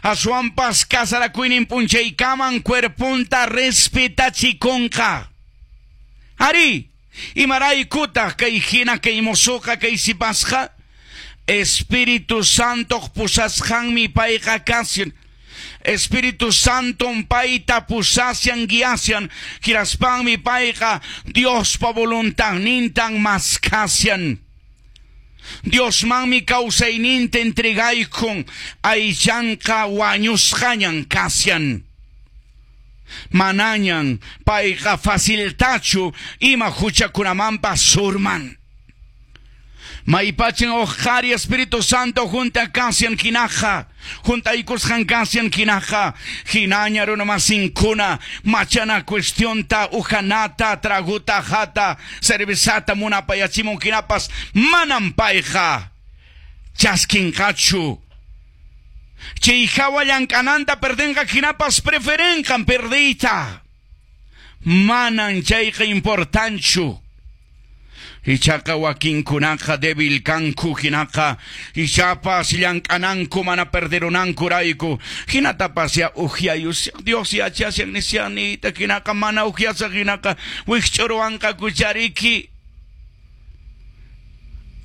Aswanpas kasarakuynin p'unchaykaman cuerponta respetachikunqa. Ari, imaraykutaq kay hina kay mozoqa kay sipasqa? Espíritu Santoq pusasqanmi payqa kashan. Espíritu Santon payta pusashan guiashan, hinaspanmi payqa Diospa voluntadnintan maskashan. Diosmanmi kawsayninta entregaykun, aychanqa wañusqañan kashan. Manañan payqa faciltachu ima huchakunamanpas urman. Maypachan huk qhari Espíritu Santo hunt'a kashan hinaqa, hunt'aykusqan kashan hinaqa, hinaña runamasinkuna machana cuestionta, uhanata, traguta, hata, cervezata munapayachimun hinapas manam payqa chaskinqachu. Chay hawa llank'ananta perdenqa hinapas preferenqan perdiyta. Manan chayqa importanchu. Ichaqa wakinkunaqa débil kanku hinaqa ichapas llank'ananku mana perderunankurayku hinatapas ya uhyayus Dios yachashan nisyanita hinaqa mana uhyasaq hinaqa wikch'uruwanqaku chariki.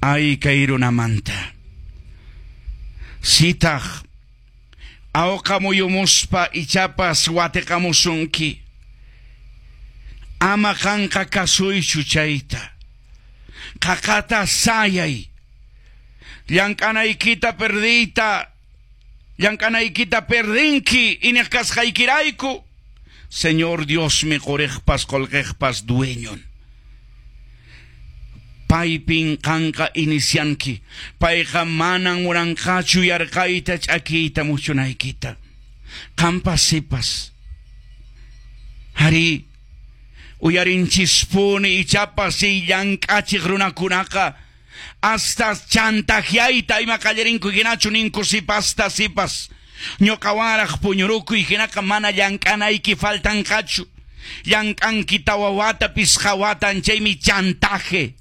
Ay kay runamanta. Sitaq awqa muyumuspa ichapas watiqamusunki. Ama qanqa kasuychu chayta. Qaqata sayay. Llank'anaykita perdiyta, llank'anaykita perdinki iñiq kasqaykirayku. Señor Diosmi quriqpas qullqiqpas dueñon. Paypin qanqa inicianki. Payqa manan munanqachu yarqayta ch'akiyta muchunaykita. Qampas sipas. Ari, uyarinchispuni ichapas chay llank'achiq runakunaqa hasta chantajeayta ima qallarinku hinachu ninku sipasta sipas. Ñuqawanraq puñurukuy hinaqa mana llank'anayki faltanqachu. Llank'anki tawa wata pisqa watan chaymi chantaje.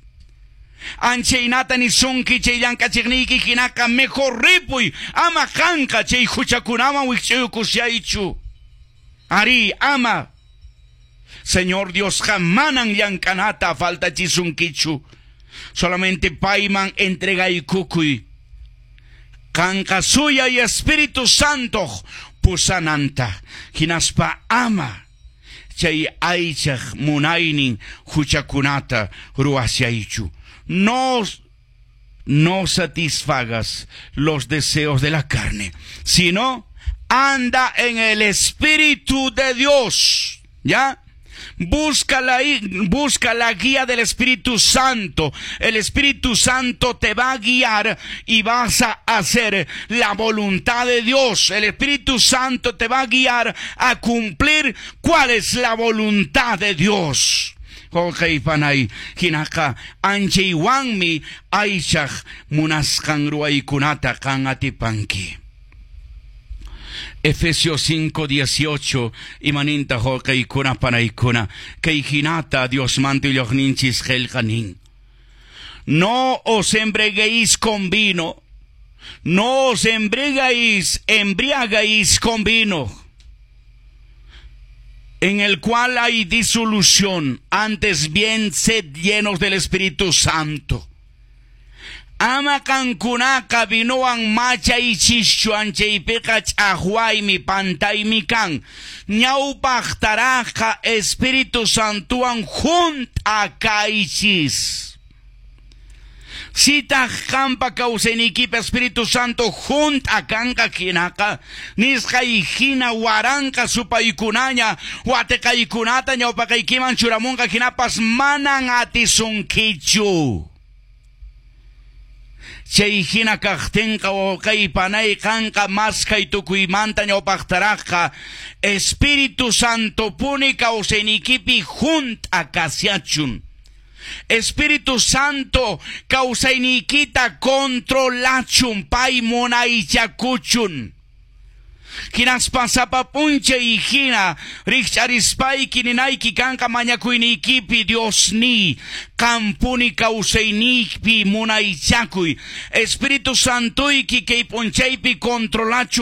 Anchaynata nisunki chay llank'achiqniyki hinaqa mejor ripuy ama qanqa chay huchakunaman wikch'uykusyaychu. Ari, ama. Señor Diosqa manan llank'anata faltachisunkichu. Solamente payman entregaykukuy. Qanqa suyay Espíritu Santo pusananta. Hinaspa ama chay aychaq munaynin huchakunata ruwasyaychu. No, no satisfagas los deseos de la carne, sino anda en el Espíritu de Dios. ¿Ya? Busca la guía del Espíritu Santo. El Espíritu Santo te va a guiar y vas a hacer la voluntad de Dios. El Espíritu Santo te va a guiar a cumplir cuál es la voluntad de Dios. Wawqi panay hinaqa anchaywanmi aychaq munasqan ruwaykunata qan atipanki. Efesios 5:18 imaninta wawqiykuna panaykuna kay hinata Diosmanta willaqninchis qillqanin. No os embriaguéis con vino, no os embriagáis con vino, en el cual hay disolución, antes bien sed llenos del Espíritu Santo. Ama qankunaqa vinowan machaychischu anchaypiqa ch'aqwaymi pantaymi kan. Ñawpaqtaraqqa Espíritu Santowan hunt'a kaychis. Sitaq qampa kawsayniykipi Espíritu Santo hunt'a kanqa hinaqa nisqay hina waranqa supaykunaña watiqaykunata ñawpaqaykiman churamunqa hinapas manan atisunkichu. Chay hina kaqtinqa wawqay panay qanqa maskhay tukuymanta ñawpaqtaraqqa Espíritu Santopuni kawsayniykipi hunt'a kasiachun. Espíritu Santo kawsayniykita controlachun pay munaychakuchun. Hinaspa sapa p'unchay hina rikch'arispayki ninayki kanqa mañakuyniykipi Diosniy qampuni kawsayniypi munaychakuy. Espíritu Santoyki kay p'unchaypi controlachun.